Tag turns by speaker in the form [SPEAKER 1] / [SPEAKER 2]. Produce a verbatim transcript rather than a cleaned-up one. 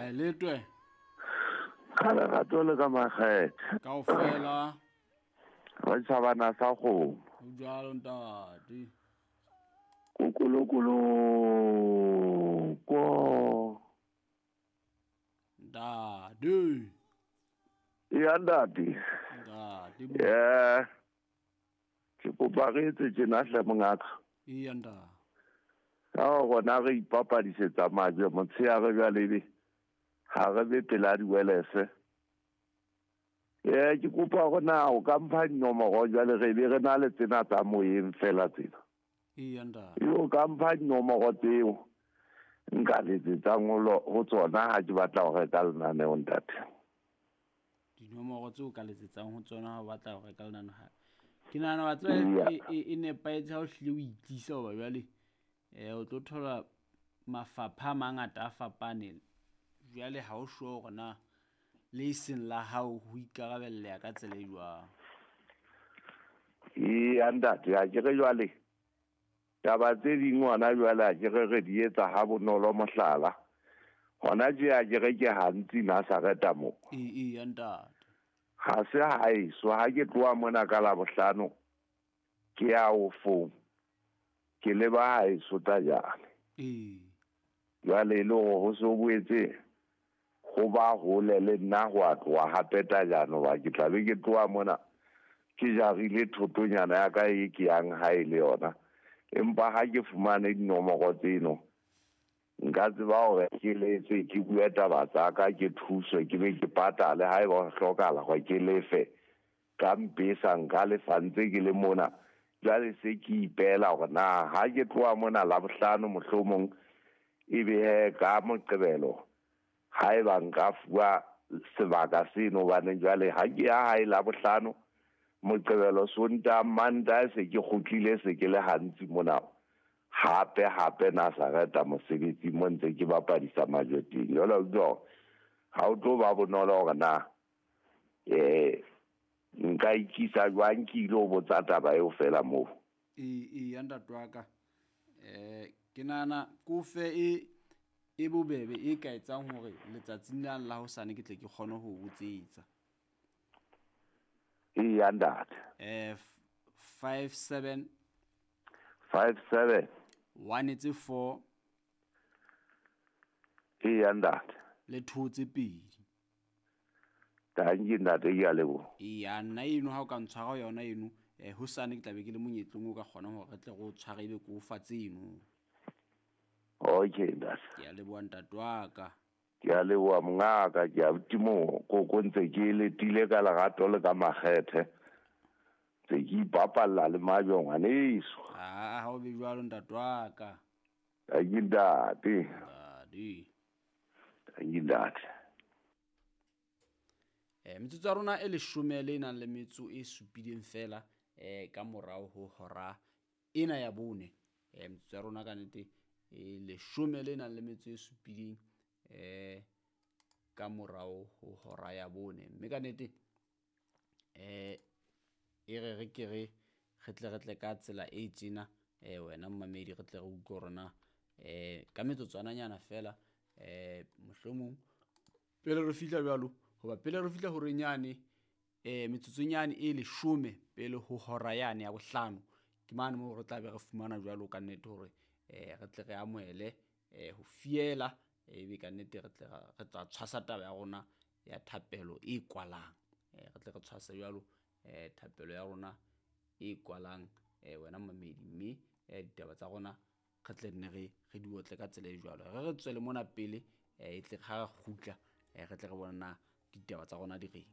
[SPEAKER 1] Haeletwe.
[SPEAKER 2] Ka lerato le ka makgethe.
[SPEAKER 1] Kaofela.
[SPEAKER 2] Ba tjhabana sa kgomo.
[SPEAKER 1] Ho jwalo ntate.
[SPEAKER 2] Kukulukulu ko.
[SPEAKER 1] Ntate.
[SPEAKER 2] Ya ntate.
[SPEAKER 1] Ntate.
[SPEAKER 2] Eh. Ke kopa re etse tjena hle mongaka.
[SPEAKER 1] Eya ntate.
[SPEAKER 2] Ka rona re ipapadisetsa majwe motshehare jwale ebe ha re be pela diwelese. Eh ke kopa hore na o ka mpha dinomoro jwale re be re na le tsena tsa moyeng fela tsena.
[SPEAKER 1] Eya ntate.
[SPEAKER 2] Yo ka mpha dinomoro tseo nka letsetsang ho tsona ha ke batla ho reka lenaneo ntate.
[SPEAKER 1] Dinomoro tseo ka letsetsang ho tsona ha o batla ho reka lenaneo. Ke nahana wa tseba e nepahetse ha o hlile o itlisa hoba jwale eh o tlo thola mafapha a mangata a fapaneng. Jwale ha o sure hore na le seng la hao ho ikarabelleha ka tsela e jwang.
[SPEAKER 2] Eya ntate, ha ke re jwale taba tse ding hona jwale ha ke re re di etsa ha bonolo mohlala. Hona tje ha ke re ke hantsi Nazareta mo.
[SPEAKER 1] Eya ntate.
[SPEAKER 2] Ha se haeso ha ke tloha mona ka Labohlano ke ya ofong ke leba haeso Tajane.
[SPEAKER 1] Ee.
[SPEAKER 2] Jwale e le hore ho so boetse ho ba hole le nna ho a tloha hape Tajane hoba ke tla be ke tloha mona ke jarile thotonyana ya ka e ke yang hae le yona. Empa ha ke fumane dinomoro tseno nka tseba hore ke letse ke bue taba tsa ka ke thuswe ke be ke patale haeba ho hlokahala hore ke lefe ka mpesa nka lefa ntse ke le mona. Jwale se ke ipela hore na ha ke tloha mona Labohlano mohlomong ebe he ka Moqebelo haeba nka fuwa sebaka seno hobane jwale ha ke ya hae Labohlano Moqebelo Sontaha Mantaha se ke kgutlile se ke le hantsi mona hape hape Nazareta mosebetsi mo ntse ke bapadisa majwe teng. Jwale o ha o tlo ba bonolo hore na eh nka ikisa jwang ke ile ho botsa taba eo fela moo.
[SPEAKER 1] Ee ee ntate wa ka. Eh ke nahana kofe e e bobebe e ka etsang hore letsatsing la la hosane ke tle ke kgone ho botsetsa.
[SPEAKER 2] Eya ntate.
[SPEAKER 1] Eh five seven
[SPEAKER 2] five seven
[SPEAKER 1] one tse four
[SPEAKER 2] Eya ntate.
[SPEAKER 1] Le two tse pedi.
[SPEAKER 2] Tanki ntate ke a leboha.
[SPEAKER 1] Eya nna eno ha o ka ntshwara yona eno eh hosane ke tla be ke le monyetlong o ka kgona hore re tle re o tshware ebe ke o fa tseno.
[SPEAKER 2] Okay ntate.
[SPEAKER 1] Ke a leboha ntate wa ka.
[SPEAKER 2] Ke a leboha mongaka, ke a timo koko ntse ke letile ka lerato le ka makgethe. Ntse ke ipapalla le majwe ngwaneso.
[SPEAKER 1] Ah ha o be jwalo ntate wa ka.
[SPEAKER 2] Tanki ntate.
[SPEAKER 1] Ntate.
[SPEAKER 2] Tanki ntate.
[SPEAKER 1] Eh metsotso ya rona e leshome le nang le metso e supileng fela eh ka morao ho hora ena ya bone. Eh metsotso ya rona ka nnete e leshome le nang le metso e supileng eh ka morao ho hora ya bone. Mme ka nnete eh e re re ke re re tle re tle ka tsela e tjena eh wena mmamedi re tle re utlwe hore na eh ka metsotswananyana fela eh mohlomong pele re fihla jwalo hoba pele re fihla horeng yane eh metsotsonyane e leshome pele ho hora yane ya bohlano ke mane moo re tla be re fumana jwalo ka nnete hore eh re tle re amohele eh ho fiela ebe ka nnete re tle re tla tshwasa taba ya rona ya thapelo e kwalang eh re tle re tshwasa jwalo eh thapelo ya rona e kwalang eh wena mmamedi mme eh ditaba tsa rona re tle nne re re di otle ka tsela e jwalo re re tswele mona pele eh e tle ga re kgutla eh re tle re bona na ditaba tsa rona di reng.